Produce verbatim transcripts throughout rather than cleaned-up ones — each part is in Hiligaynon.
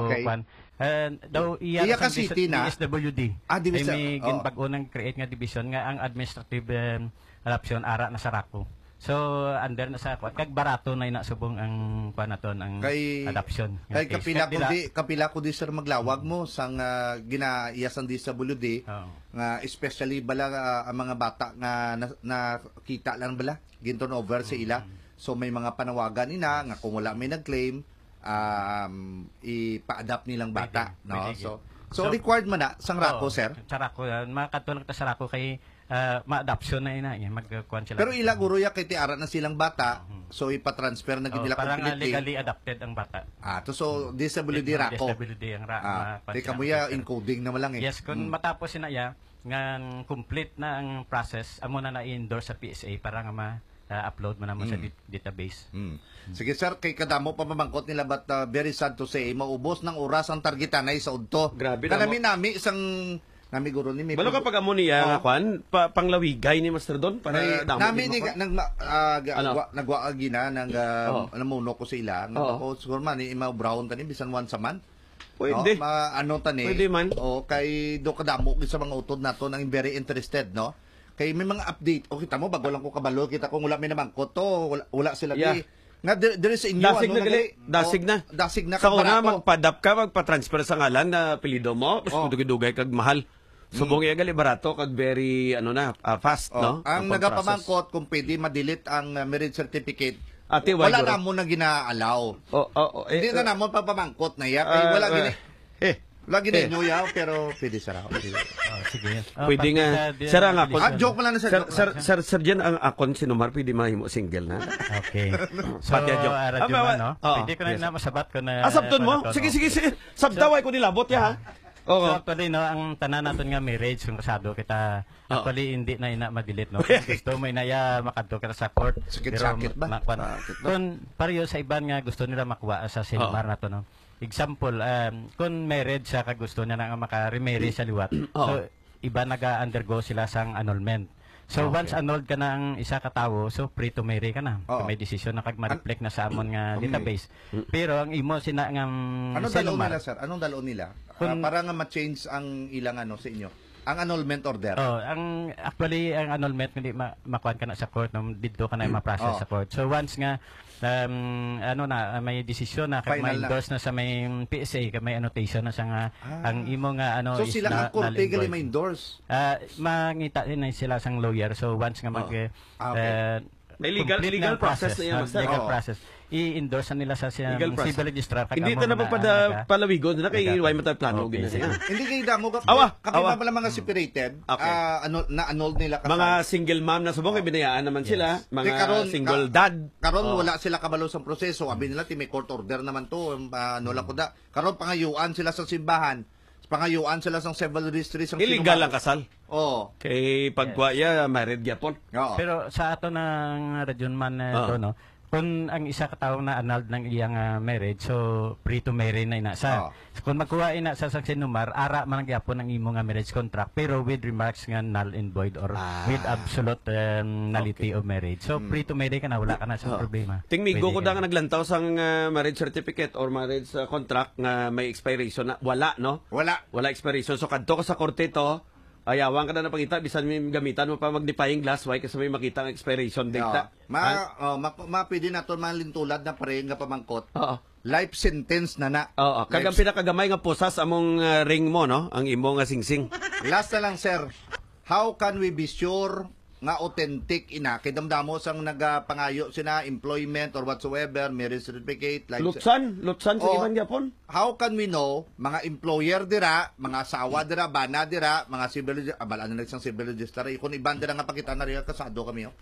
Okay. Kuan. Eh, daw iya Iya sa ka city na. D S W D. Ah, di Ay, sa, may oh. ginbag-o nang create nga division nga ang administrative, em, adoption ara na sa RACU. So, under na sa kuan. Kag barato na ina subong ang kuan naton, ang Kay, adoption. Nga kay case. kapila Kag ko dila- di, kapila ko di, sir, maglawag mo sang, ah, ginaiya sang D S W D, Oo. nga especially bala, ah, ang mga bata nga na, nakita lang bala, gin-turnover sa ila. Mm. So, may mga panawagan ina nga kung wala may nag-claim, um, ipa-adopt nilang Pwede, bata, no? pwede So, gyud. so, So, required man na sang RACU, Oo, sir? sa RACU, ah, makadto lang ta sa RACU kay, ah, ma-adoption na ina, eh, magkuan sila. Pero ila guro ya kay ti ara na silang bata, Mhm. so ipa-transfer na gid Oo, nila para nga completely. legally adopted ang bata. Ah, to, so, Mm. D S W D It, RACU. D S W D ang ra-, Ah, ma-, kuan di sila, kamo ya officer. encoding na lang eh. Yes, kung Mm. matapos sina ya, nga complete na ang process, amo na na-endorse sa P S A para nga ma-, ah, upload mo naman sa Mm. dit-, database. Mm. Sige, sir, kay kadamo pa mamangkot nila, but, ah, very sad to say, maubos ng oras ang targetanay sa udto. Grabe na mo. Kanami-nami sang, nami guro ni, may Balo ka pag-, pag amo niya nga Oh. kwan, pa-, panglawigay ni Master Don para Ay, damo nami din ni mo ga-, kwan. nagma-, ah, ga-, Ano? gwa-, nagwa agi na, nang, ah, Oh. namuno ko sa ila. Nga Oo. ako, siguro man, eh, imaw brown tani, bisan once a month. Pwede. No? Ma-, ano tani? Pwede man. O, kay do kadamo gid sa mga utod nato nang very interested, no? Kay may mga update. O, kita mo, bago lang ko kabalo, kita kung wala may namangkot to, wala, wala sila Yeah. di. Nga, diri, diri sa inyo, Dasig ano na na gali. gali? Dasig O, na. dasig na, Sa kag una, barato. magpadap ka, magpa-transfer sa ngalan na apelyido mo, tapos Oh. dugay-dugay kag mahal. Subong Mm. iya gali barato kag very, ano na, ah, fast, Oh, no? ang Ang pag-process. nagapamangkot kung pwede ma-delete ang, ah, marriage certificate, Ate, why wala guro? na mo na gina-allow. Oh, oh, oh, eh, Hindi na eh, namon pagpamangkot na iya, kay ah, wala eh, gini-, eh, wala gini eh. inyo yaw, pero pwede sa raw. Oh, sige. Oh, Pwede pati nga. sa di-, Sir, ang di-, ako, Ah, joke lang na, sir, Sir, joke sir, lang, sir. sir, sir, dyan ang akon, si Numar, pwede mahimo single na. Okay. So, Pati ang joke. ah, Radyo Ah, Man, no? ah, Pwede ko na yes. na masabat ko na Asabton mo? ano to, Sige, no? sige, sige. Sabtaway ko nilabot, ya, ha? Oo. So, actually, no, ang tanan naton nga marriage, kung kasado kita, Oo. actually, hindi na ina ma-delete, no? Kung gusto mo, ina, ya, makadto ka sa court. Sakit-sakit Pero ba? ma-, kwan-, Sakit ba? kung pareho sa iban nga gusto nila makuha sa Oo. Sinmar na to, no? Example, um, kung married siya, kag gusto niya na nga maka-remarry sa liwat. Oo. So, iba naga-undergo sila sang annulment. So, Okay. once annulled ka na ang isa ka tawo, so free to marry ka na. Oo. May desisyon na kag ma-reflect na sa amon nga An-, database. Mm. Pero ang imo sina nga, mm, Anong dalon sinumar- nila, sir? Anong dalon nila? Ah, Kung para nga ma-change ang ilang ano sa inyo? Ang annulment order? Oh, ang, actually, ang annulment, hindi ma-, makuan ka na sa court, no? Didto ka na ma-process Oh. sa court. So, once nga, um, ano na, ah, may desisyon na, kag Final na. ma-endorse na sa may P S A, kag may annotation na sa nga, Ah. ang imo nga, ano, So, is sila na, ang korte null and gali void. ma-endorse? Ah, mangita din na sila sang lawyer. So, once nga mag, Oo. eh, Ah, okay. eh, May legal, complete legal na ang process process, na yan, no? Master. Legal Oo. process. I-endorse na nila sa siyang Legal process. civil registrar, kag Hindi amo ta na na pagpada-, ang naga-, palawigon na kay naga-, why man tayo plano okay, gina sige. niya. Hindi kay damo ka, Awa, kapi awa. ba pala mga separated? Okay. Ah, ano, na-annulled nila kasal? Mga single mom na subong, kay binayaan naman Yes. sila. Mga Kay karon, single ka-, dad. karon Oh. wala sila kabalo sa proseso. Abi nila, ti may court order naman to. Ah, ano lang ko da. Karon pangayuan sila sa simbahan. Pangayuan sila sa civil registry sa Illegal sinumang ang kasal. Oo. Kay pagkuha Yes. iya, married gyapon. Oo. Pero sa ato nang Radyo Man, eh, Oo. to, no? Kung ang isa ka tawo na annulled ng iyang, ah, marriage, so free to marry na ina sa. Oo. Kung magkuha ina sa, sa sinumar, ara man ang gyapon ang imo nga marriage contract, pero with remarks nga null and void or Ah. with absolute, um, nullity Okay. of marriage. So, Mm. free to marry ka na, wala ka na sa Oo. problema. Ting migo Pwede ko ka da na. nga naglantaw sang, ah, marriage certificate or marriage, ah, contract nga may expiration na. Wala, no? Wala. Wala expiration. So, kadto ka sa korte to, ayawan ka na napangita, bisan may gamitan mo pa magnifying glass, why kasi may makita ang expiration date Oo. ta? Ma-, Ha? oh, ma-, ma-, pwede naton malintulad na pare nga pamangkot. Oo. Life sentence na na. Oo, kag ang Life pinakamay nga pusas among, ah, ring mo, no? Ang imo nga singsing. Last na lang, sir. How can we be sure nga authentic ina? Kay damdamo sang nagapangayo sina employment or whatsoever, marriage certificate, like Lutsan, lutsan sa Oh, iban gyapon. How can we know, mga employer dira, mga asawa dira, bana dira, mga civil, ah, bala na sang civil register, eh, kung iban dira nga pakita na rin, kasado kami, oh.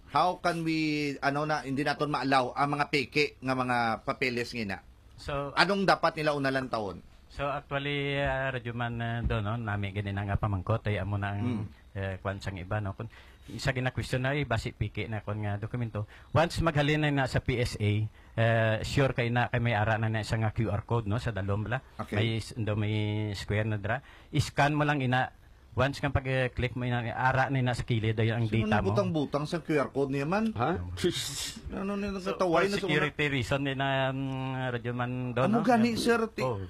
How can we, ano na, hindi naton ma-allow ang mga peke nga mga papeles nga ina? So, Anong dapat nila unalan taon? So, actually, ah, Radyo Man, ah, do, no, nami gani na nga pamangkot, ay amo na ang, Hmm. eh, kwan sang iba, no? Kung isa gina-question na, eh, basi peke na kwan nga dokumento. Once maghalin na na sa P S A, eh, sure kay na, kay may ara na na isa nga Q R code, no, sa dalom bala. Okay. May s-, do may square na dira. I-scan mo lang ina. Once nga pag-click mo ina, ara na na sa kilid, ay ang Sino data mo. nagbutang-butang sa Q R code niya man? Ha? Ano na So, nagkataway for na sa una? security reason, eh, na, um, Radyo Man do, Amo no? gani, Nga, sir, ti-, oh,